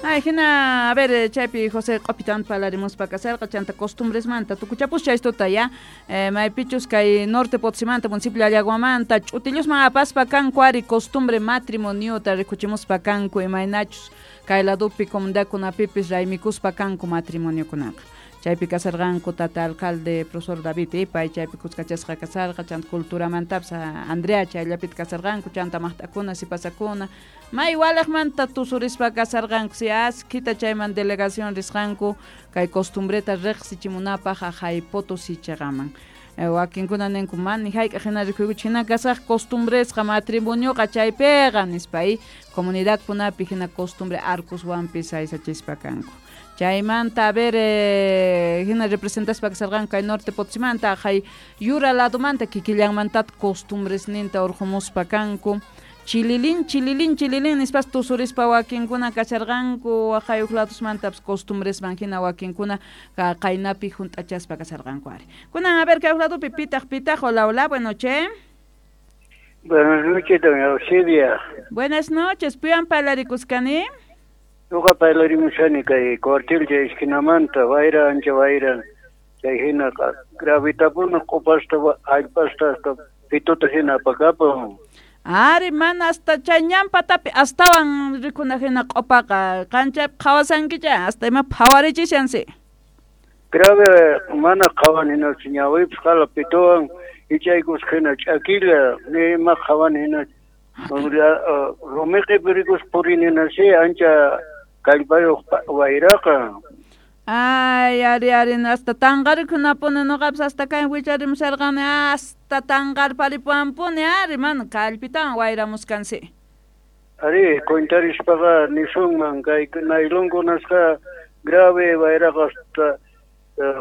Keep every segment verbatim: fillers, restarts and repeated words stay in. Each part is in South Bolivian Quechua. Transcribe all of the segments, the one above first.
Ay, hina, a ver, eh, chaypi José q'upitawan parlarimuspa kasarqa chanta costumbresmanta tukuchapus chaystuta ya eh, maypichus kay Norte Potosimanta municipio Llallaguamanta ch'utillusman apaspa kanku ari costumbre matrimoniota rikuchimuspa kanku imaynachus kay ladupi comunidadkunapipis raymikuspa kanku matrimoniokunaqa chaypi kasarqanku tata alcalde profesor David eh, pay chaypi kuskachasqa kasarqa chanta culturamantapis Andrea chayllapita kasarqanku chanta maqt'akuna sipasakuna may walaqmanta tusurispa kasarqanku si askhita chayman delegación risqanku kay costumbreta riqsichimunapaq aqhay Potosí chiqaman wakinkuna ninku mani hayk'aq hina rikuykuchik hina kasaq costumbresqa matrimonioqa chaypiqa nispa y comunidadkunapi hina costumbre arcoswanpis aysachispa kanku chaymanta a ver eh, hina representaspa kasarqanku kay Norte Potosimanta aqhay yura ladomanta kikillanmantataq costumbresninta urqumuspa kanku chililin chililin chililin nispas tusurispa wakinkuna kasharqanku aqhay huk ladosmantapis costumbresman hina wakinkuna qaynapi hunt'achaspa kasharqanku ari kunan a ver kay huk ladopi pitaq pitaq hola hola buenas noches. Buenas noches, doña Auxilia. Buenas noches, piwan parlarikusqani? Ñuqa parlarimushani kay cuartel chay esquinamanta wayra ancha wayra chay hina gravitapuna q'upasta allpasta hasta pituta hina apakapun. Ari mana hasta chay ñan patapi astawan rikuna hina q'upaqa qanchaypi qhawasankicha hasta ima phawarichishansi. Grave mana qhawani hinachu ñawipis qhala pituwan ichaykusqa hina ch'akilla ni ima qhawani hinachu rumiqipi rikuspa purini hinasi ancha kallpayuq wayraqa. Ay, ari, ari, hasta tanqarikunapuni nuqapis hasta kay wicharimusharqani hasta tanqarparipuwanpuni ari mana kallpitawan wayramuskansi. Ari, cuentarispaqa nisunman kay naylonkunasqa grave wayraqa hasta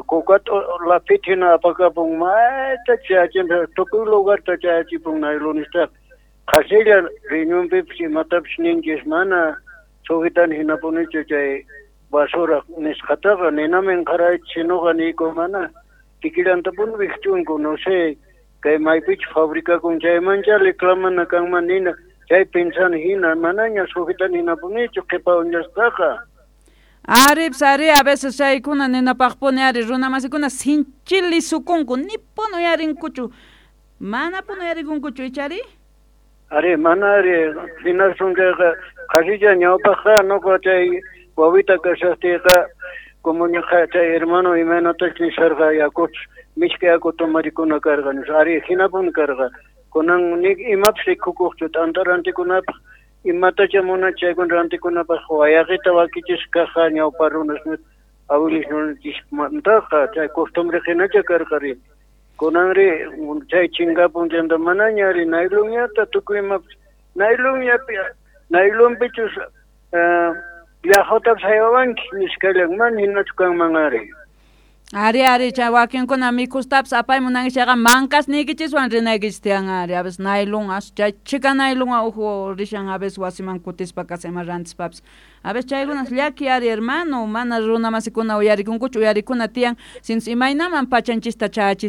kukata lapita hina apakapun mayta chayachin tukuy lugarta chayachipun naylonistaqa qhasilla riñonpipis imatapis ninchis mana sujetani hinapunichu chay basura nisqataqa ninaman qaraychis sinuqa niyku mana kikillantapuni wikch'unku no sé kay maypichus fabricakun chaymancha reclamana kanman nina chay pensani hina manaña sujetani hinapunichu qhipa uñasqaqa. Aripis ari a veces chaykuna ninapaqpuni ari runamasikuna sinchili sukunku nipuni uyarinkuchu manapuni uyarikunkuchu ichari? Ari mana ari hinasun chayqa qhasilla ñawpaqqa nuqa chay wawita kashaqtiyqa como ñuqa chay hermano imaynatachus nisharqa yakuchus mishk'i yaku tomarikuna karqa nispa ari hinapuni karqa kunan ni imapis rikukuqchu t'anta rantikunapaq imatacha munanchik chaykuna rantikunapaq wayaqita wakichisqa kaqqa ñawpa runas abuelisninchikmantaqa chay costumbre hinacha karqa ri kunanri chay chinkapun chayta manaña ari naylonñata tukuy imapis naylonllapi naylonpichus llaqutapis haywawanki nisqallan mana hinachu kanman ari. Ari ari chay wakinkuna mikustapis apaymunanki chayqa mankas niykichiswan rinaykichis tiyan ari a veces naylon as chay chika naylonwan uhu rishan a veces wasiman kutispa kasa ima rantispapis a veces chaykunas llaki ari hermano mana runamasikuna uyarikunkuchu uyarikuna tiyan sinchus imaynaman pachanchista chayachis